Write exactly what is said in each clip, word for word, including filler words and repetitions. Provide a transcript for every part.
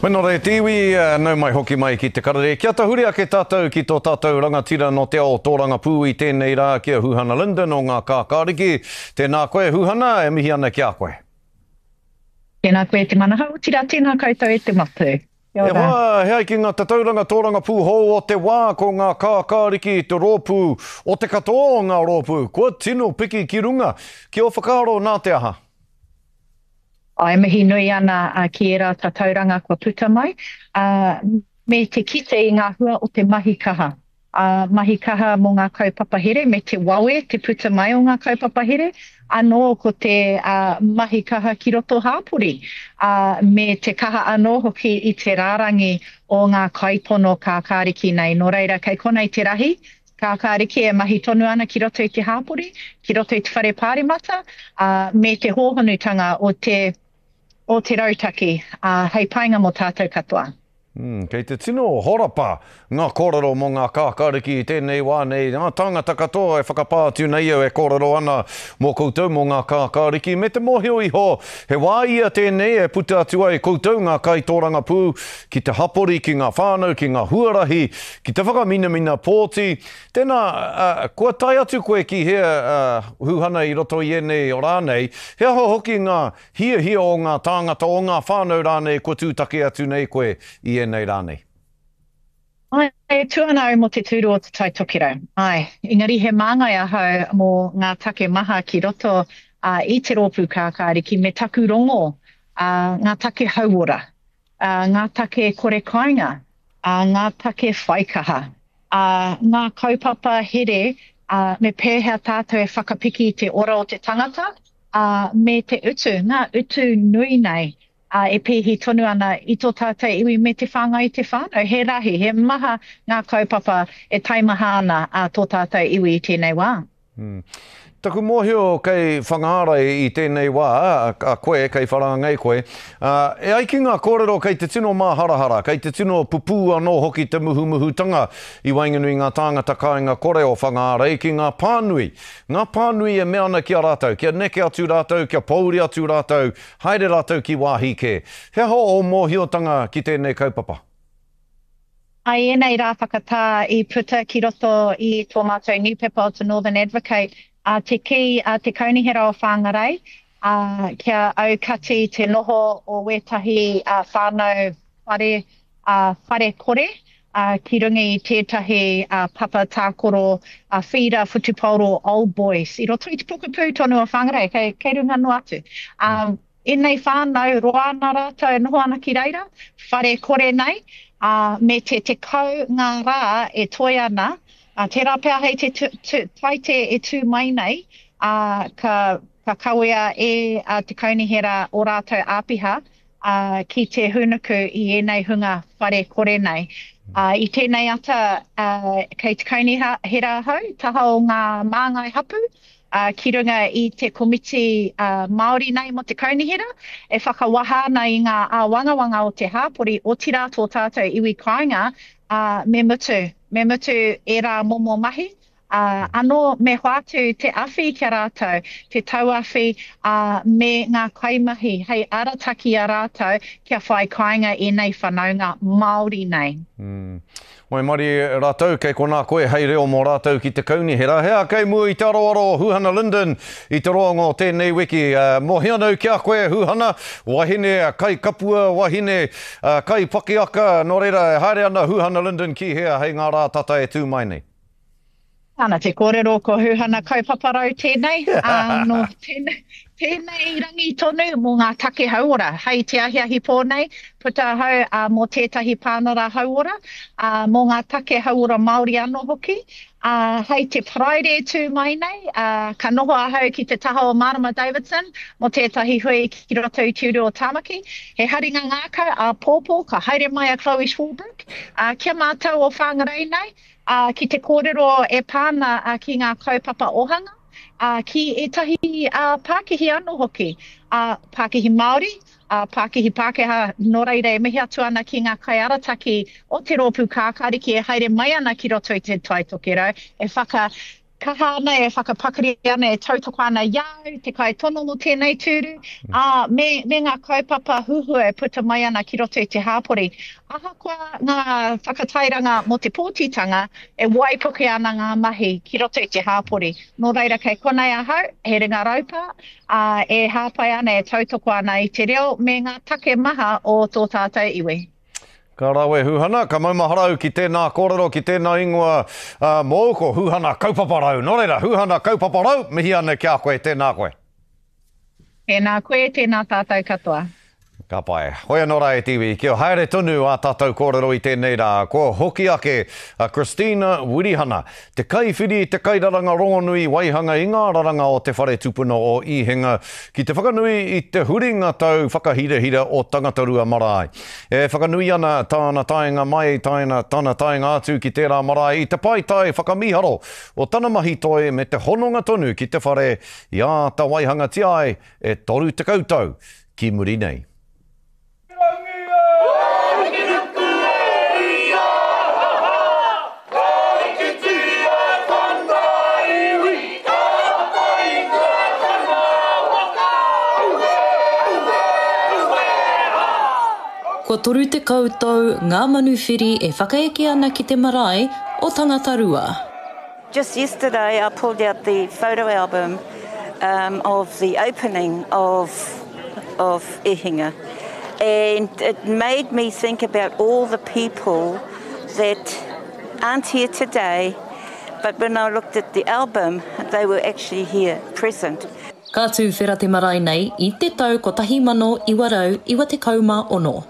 Wena re te iwi, nau mai hoki mai ki te karere. Kia tahuri ake tātou ki tō tātou rangatira no te ao tōrangapū i tēnei rā ki a Huhana Lyndon o ngā kākāriki. Tēnā koe Huhana, e mihi ana ki a koe. Tēnā koe te manaha, otirā tēnā koutou e te matu. E hoa, he ai ki ngā tatauranga tōrangapū hou o te wā, ko ngā kākāriki te rōpū o te katoa o ngā rōpū. Kua tino piki ki runga. Ki o whakaaro nā te aha? Ai mihi nui ana uh, ki ērā tatauranga kua puta mai, uh, me te kite i ngā hua o te mahi kaha. Uh, mahi kaha mō ngā kaupapa here, me te wawe te puta mai o ngā kaupapa here, anō ko te uh, mahi kaha ki roto hāpori, uh, me te kaha anō hoki i te rārangi o ngā kaipono kākāriki nei. Nō reira, kei konei te rahi, kākāriki e mahi tonu ana ki roto i te hāpori, ki roto i te whare pāremata, uh, me te hōhonutanga o te o te rautaki, uh, hei painga mō tātou katoa. Mm, kei te tino horapa ngā kōrero mō ngā kākāriki i tēnei wā nei. Ngā tāngata katoa e whakapā atu nei au e kōrero ana mō koutou mō ngā kākāriki. Me te mōhio iho, he wā ia tēnei e puta atu ai koutou ngā kaitōrangapū ki te hapori, ki ngā whānau, ki ngā huarahi, ki te whakaminamina pōti. Tēnā, uh, kua tae atu koe ki hea uh, Huhana i roto i ēnei o rānei, he aha hoki ngā hiahia o ngā tāngata o ngā whānau rānei kua tūtaki atu nei koe i ēnei rānei? Ai, e tū ana au mō te tūru o te Tai Tokerau. Ai, engari he māngai ahau mō ngā take maha ki roto uh, i te rōpū kākāriki me taku rongo, uh, ngā take hauora, uh, ngā take kore kāinga, uh, ngā take whaikaha, uh, ngā kaupapa here, uh, me pēhea tātou e whakapiki i te ora o te tangata, uh, me te utu, ngā utu nui nei, uh, e pēhi tonu ana i tō tātou iwi me te whāngai i te whānau. He rahi, he maha ngā kaupapa e taimaha ana a tō tātou iwi i tēnei wā. Hmm. Taku mōhio kei Whangārei i tēnei wā, a koe, kei Wharāngei koe, uh, e ai ki ngā kōrero kei te tino māharahara, kei te tino pupū anō hoki te muhumuhutanga i waenganui ngā tāngata kāinga kore o Whangārei ki ngā pānui. Ngā pānui e mea ana ki a rātou, kia neke atu rātou, kia pouri atu rātou, haere rātou ki wāhi kē. He aha o mōhiotanga ki tēnei kaupapa? Ai ēnei rā whakatā i puta ki roto i tō mātou newspaper o te Northern Advocate, a te ki a te kaunihera o Whangarei, a, kia aukati te noho o wētahi a, whānau whare, a, whare kore, a, ki runga i tētahi a, papa tākoro a, whīra whutupaoro Old Boys. I roto i te pokapū tonu o Whangarei, kei, kei runga noa atu. Um, ēnei whānau roa ana rātou e noho ana ki reira, whare kore nei, uh, me te tekau ngā rā e toe ana, uh, tērā pea hei te tu, tu, taite e tū mai nei, uh, ka, ka kawea e uh, te kaunihera o rātou āpiha uh, ki te hunuku i ēnei hunga whare kore nei. Uh, i tēnei ata uh, kei te kaunihera ahau, taha o ngā māngai hapu, uh, ki runga i te komiti uh, Māori nei mō te kaunihera, e whakawaha ana i ngā āwangawanga o te hāpori, otirā tō tātou iwi kāinga, uh, me mutu, me mutu ērā momo mahi. Uh, anō me hoatu te awhi ki a rātou, te tauawhi uh, me ngā kaimahi hei arataki a rātou kia whai kāinga ēnei whanaunga Māori nei. Mm. Waimarie rātou, kei konā koe hei reo mō rātou ki te kaunihera. Hea kei mua i te aroaro o Huhana Lyndon i te roanga o tēnei wiki. Uh, mōhio anau ki a koe Huhana, wahine kai kapua, wahine uh, kai pakiaka, nō reira e haere ana Huhana Lyndon ki hea hei ngā rā tata e tū mai nei. Ana te kōrero ko Huhana kaupaparau tēnei, uh, no tēnei, tēnei rangi tonu mō ngā take hauora. Hei te ahiahi pō nei, puta ahau uh, mō tētahi pānara hauora, uh, mō ngā take hauora Māori anō hoki. Uh, hei te Paraire tū mai nei, uh, ka noho ahau ki te taha o Marama Davidson mō tētahi hui ki roto i Te Uru o Tāmaki. He haringa ngākau a pōpō, ka haere mai a Chloe Swarbrick, uh, kia mātou o Whangarei nei, uh, ki te kōrero e pāna uh, ki ngā kaupapa ohanga, uh, ki ētahi uh, pākihi anō hoki, uh, pākihi Māori, uh, pākihi Pākehā, nō reira e mihi atu ana ki ngā kaiarataki o te rōpū kākāriki e haere mai ana ki roto i te Tai Tokerau, e whaka kaha ana, e whakapakari ana, e tautoko ana i a au, te kaitono mō tēnei tūru, ā, me, me ngā kaupapa huhua e puta mai ana ki roto i te hāpori. Ahakoa ngā whakatairanga mō te pōtitanga, e waipuke ana ngā mahi ki roto i te hāpori. Nō reira kei konei ahau, he ringa raupa, ā, e hāpai ana, e tautoko ana i te reo me ngā take maha o tō tātou iwi. Ka rawe Huhana, ka maumahara au ki tēnā kōrero, ki tēnā ingoa mōu, ko Huhana Kaupaparau. Nō reira, Huhana Kaupaparau, mihi ana ki a koe, tēnā koe. Tēnā koe, tēnā tātou katoa. Ka pai. Hoi anō rā e te iwi, kia haere tonu ā tātou kōrero i tēnei rā, kua hoki ake a Christina Wirihana, te kaiwhiri, te kairaranga rongonui waihanga i ngā raranga o te whare tupuna o Īhenga ki te whakanui i te huringa tau whakahirahira o Tangatarua Marae. E whakanui ana tāna taenga mai, tāna, tana taenga atu ki tērā marae i te paetae whakamīharo o tana mahi toi me te hononga tonu ki te whare i āta waihangatia ai e toru tekau tau ki muri nei. Kua toru tekau tau ngā manuwhiri e whakaeke ana ki te marae o Tangatarua. Just yesterday I pulled out the photo album um, of the opening of, of Ihinga and it made me think about all the people that aren't here today but when I looked at the album they were actually here present. Ka tūwhera te marae nei i te tau kotahi mano iwa rau iwa tekau mā ono.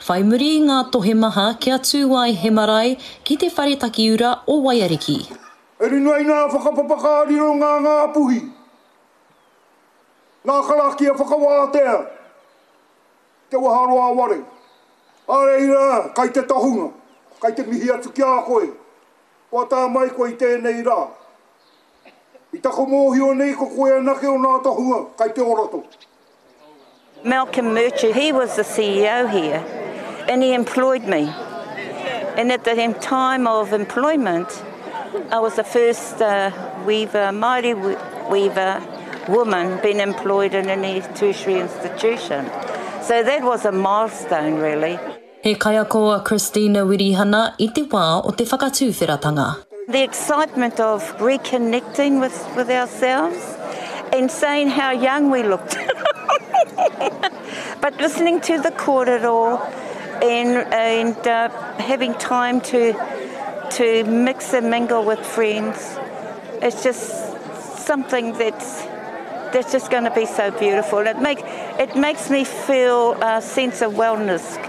Whai muri i ngā tohe maha kia tū ai he marae ki te whare takiura o Waiariki. E rino ai ngā whakapapa ka riro ngā Ngāpuhi, ngā karakia whakawātea, te waharoa ware. A reira, kai te tohunga, kai te mihi atu ki a koe, kua tā mai koe i tēnei rā. I taku mōhio nei ko koe anake o ngā tohunga kai te ora tonu. Malcolm Murchie, he was the C E O here and he employed me. And at the time of employment, I was the first uh, weaver, Māori weaver woman being employed in any tertiary institution. So that was a milestone really. He kaiako a Christina Wirihana i te wā o te whakatūwheratanga. The excitement of reconnecting with, with ourselves and saying how young we looked. But listening to the kōrero and, and uh, having time to, to mix and mingle with friends, it's just something that's, that's just gonna be so beautiful. It, make, it makes me feel a sense of wellness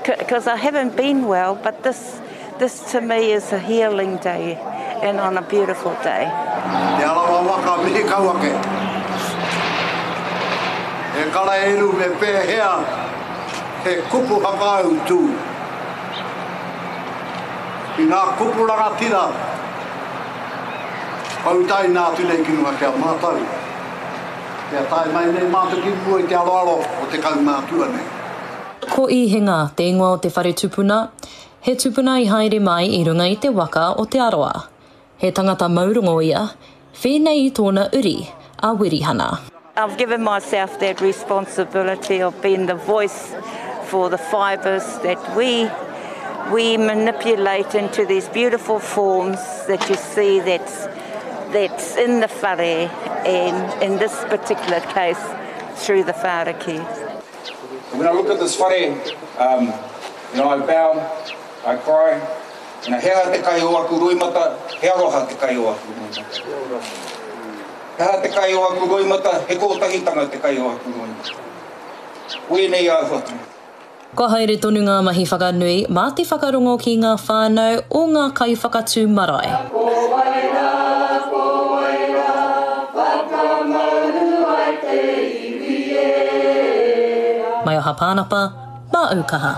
'cause I haven't been well, but this, this to me is a healing day and on a beautiful day. Te arawa waka mihi kau ake. E kara eru me pēhea he kupu whakaau tū. I ngā kupu rangatira, pautai nā atu nei ki runga kia mātau. Kia tae mai nei mātou ki mua i te aroaro o te kaumātua nei. Ko Īhenga te ingoa o te whare tupuna, he tupuna i haere mai i runga i te waka o Te Arawa. He tangata maurongo ia, whēnei i tōna uri, a Wirihana. I've given myself that responsibility of being the voice for the fibres that we, we manipulate into these beautiful forms that you see that's, that's in the whare, and in this particular case, through the whāriki. When I look at this whare, um, you know, I bow, I cry, and he aha te kai o aku roimata, he aroha te kai o aku roimata. He aha te kai o aku roimata, he kōtahitanga te kai o aku roimata. Wēnei āhuatanga. Kua haere tonu ngā mahi whakanui mā te whakarongo ki ngā whānau o ngā kaiwhakatū marae. Ko wai rā, ko wai rā, whakamauru ai te iwi e. Maioha Pānapa, mā Aukaha.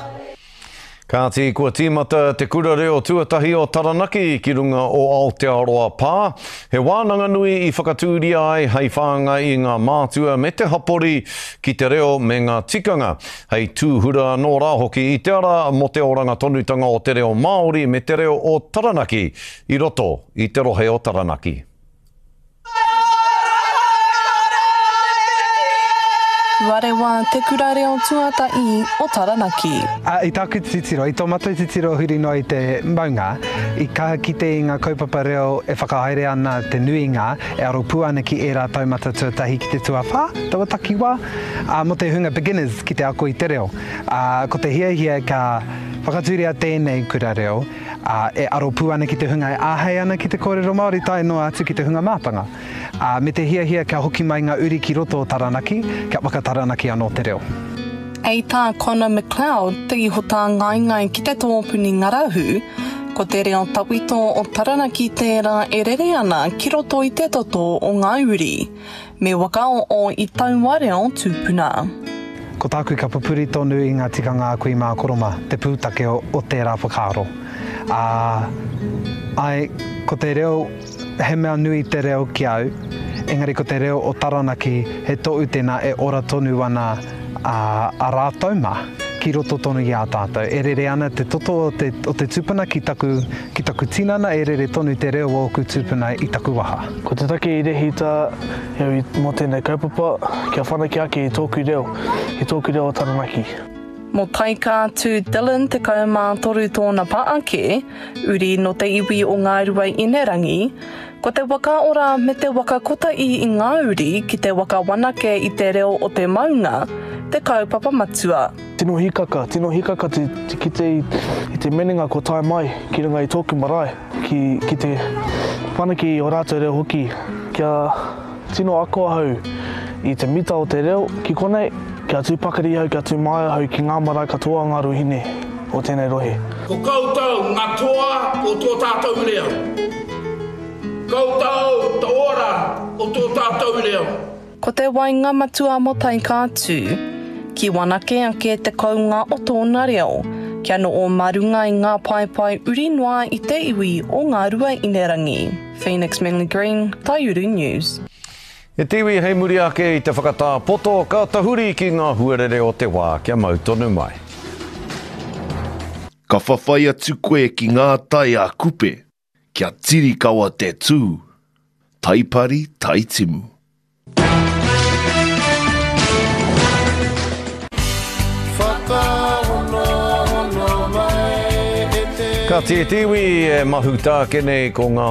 Kāti, kua tīmata te kura reo tuatahi o Taranaki ki runga o Aotearoa Pā. He wānanga nui i whakatūria ai hei whāngai i ngā mātua me te hapori ki te reo me ngā tikanga. Hei tūhura anō rā hoki i te ara mō te oranga tonutanga o te reo Māori me te reo o Taranaki i roto i te rohe o Taranaki. Tuarewa te kura reo tuatahi o Taranaki. A, i tāku titiro, i tō mātou titiro huri noa i te maunga, i kaha kite i ngā kaupapa reo e whakahaere ana te nuinga, e aro pū ana ki ērā taumata tuatahi ki te tuawhā, taua takiwā, ā, mō te hunga beginners ki te ako i te reo. Ā, ko te hiahia ka whakatūria tēnei kura reo, ā, e aro pū ana ki te hunga e āhei ana ki te kōrero Māori tae noa atu ki te hunga mātanga. Ā, me te hiahia kia hoki mai ngā uri ki roto o Taranaki, kia whakataranaki anō te reo. Hei tā Connor McLeod, te iho tāngaengae ki te tōpuni ngarahu, ko te reo tawhito o Taranaki tērā e rere ana ki roto i te toto o ngā uri. Me whakaoo i taua reo tūpuna. Ko tāku ka pupuri tonu i ngā tikanga a kui mā koro mā, te pūtake o, o tērā whakaaro. Ā, āe, ko te reo, he mea nui te reo ki au, engari ko te reo o Taranaki, he tohu tēnā e ora tonu ana a, a rātou mā, ki roto tonu i a tātou. E rere ana te toto o te, o te tupuna ki taku, ki taku tinana, e rere tonu te reo o ōku tūpuna i taku waha. Ko te take i rehita au i, mō tēnei kaupapa, kia whanake ake i tōku reo, i tōku reo o Taranaki. Mō Taikaatu Dillon tekau mā toru tōna pa ake, uri nō te iwi o Ngāruaīnerangi, ko te waka ora me te waka kotahi i ngā uri ki te waka wanake i te reo o te maunga, te kaupapa matua. Tino hikaka, tino hikaka te, te kite i, i te menenga kua tae mai ki runga i tōku marae, ki, ki te whanake i o rātou reo hoki, kia tino ako ahau i te mita o te reo ki konei, kia tū pakari ahau, kia tū māia ahau ki ngā marae katoa o ngā ruahine o tēnei rohe. Ko koutou ngā toa o tō tātou reo. Koutou te ora o tō tātou reo. Ko te wainga matua mō Taikaatū, ki wanake ake te kounga o tōna reo, kia noho mā runga i ngā paepae uri noa i te iwi o Ngāruaīnerangi. Phoenix Manly Green, Taiuru News. E te iwi hei muri ake i te whakatā poto, ka tahuri ki ngā huarere o te wā kia mau tonu mai. Ka whawhai atu koe ki ngā tai a Kupe, kia tirikawa te tū, taipari taitimu. Ka tītiwi e mahuta ake nei ko ngā